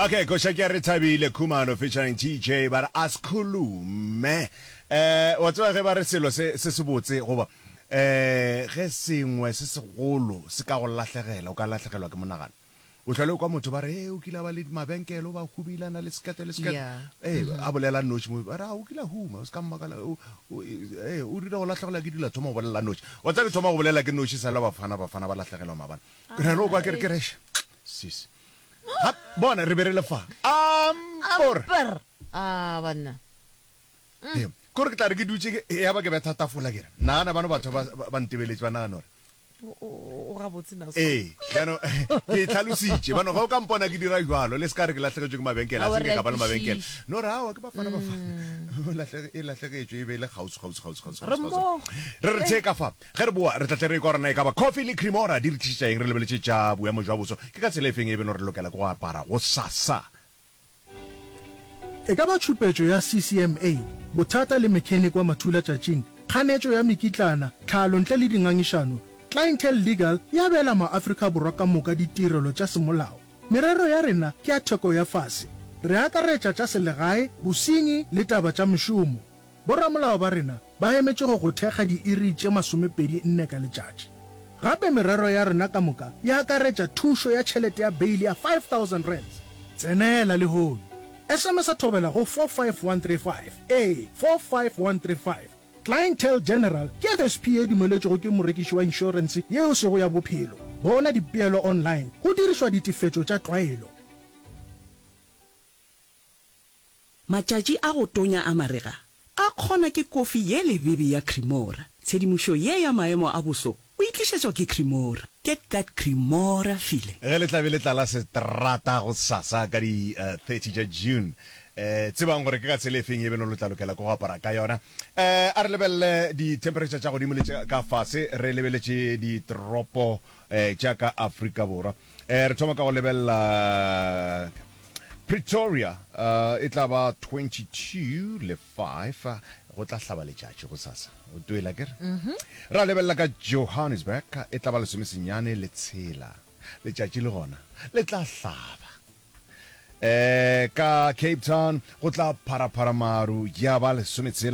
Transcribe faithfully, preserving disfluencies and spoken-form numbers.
Okay, koša ke ya Rethabile Khumalo featuring TJ ba re Askhulume. Eh wa tseba ge ba re selo se se sebotse goba eh ge sengwe se segolo se ka go lahlegela o ka lahlegelwa ke monagano. O hlole o kwa motho ba re e o kile a ba le mabenkele o ba humile a na le sekete le sekete. Yeah. Eh a bolela noši mo ba re a o kile a huma o se ka mmakala o o eh o rile go lahlegelwa ke dilo a thoma go bolela noši. Wa tseba ke thoma go bolela ke noši sala bafana bafana ba lahlegelwa maabane. Ke re o kwa ke re ke re sis. Ga bona re be re le fa. Ampor. Amper. Ah, banna. Ee, kore ke tla re ke dutše ke ya ba ke betha tafola ke re nagana bano batho ba ba ntebeletše ba nagana gore O o gabotse na so. Ee, jaanong ke e tlhalositše bano ge o ka mpona ke dira jwalo le se ka re ke lahlegetšwe ke mabenkele a Aowa se re nke a ka ba le mabenkele kwešiša. no re aowa ke bafana bafana o lahlege e lahlegetšwe e be e le kgauswi kgauswi kgauswi kgauswi Re kgauswi mmogo. re re thee ka fa ge re boa re tla tle re ekwa gore na e ka ba coffee le cremora di re tlišetša eng re lebeletše tša boemo jwa boso ke ka tsela e feng e beno re lokela ke go apara gosasa. E ka ba tšhupetšo ya CCMA, bothata le mechanic wa mathulatšatšing, kganetšo ya mekitlana, tlhalo ntle le dingangišano, Clientele Legal e abela maAfrika Borwa ka moka ditirelo tša semolao. Merero ya rena ke ya theko ya fase. Re akaretša tša selegae, bosenyi le taba tša mešomo. Boramolao ba rena ba emetše go go thekga diiri tše masomepedi nne ka letšatši. Gape merero ya rena ka moka e akaretša thušo ya tšhelete ya beili ya five thousand rands. Tsenela lehono. S M S-a Thobela go four five one three five, ee, four five one three five. Clientele General ke F S P ye dumeletšwego ke morekiši wa inšorense yeo e sego ya bophelo. Bona dipeelo online go dirišwa ditefetšo tša tlwaelo. Matšatši a go tonya a marega a kgona ke kofi ye lebebe ya Cremora. Tshedimošo ye ya maemo a boso o e tlišetšwa ke Cremora. Get that Cremora feeling. Ge le tla be le tlala seterata gosasa ka di thirty tša June, tsebang gore ke ka tsela efeng ye beno lo tla lokela ke go apara ka yona. A re lebelele di-temperature tša godimo le tša ka fase re lebeletše ditoropo tša ka Afrika Borwa. Re thoma ka go lebelela Pretoria, e tla ba twenty two le five, go tla hlaba letšatši gosasa. O twela ke re? Ra lebelela ka Johannesburg, e tla ba lesomesenyane le tshela, letšatši le gona le tla hlaba. Ka Cape Town go tla pharaphara maru ya ba lesometshela.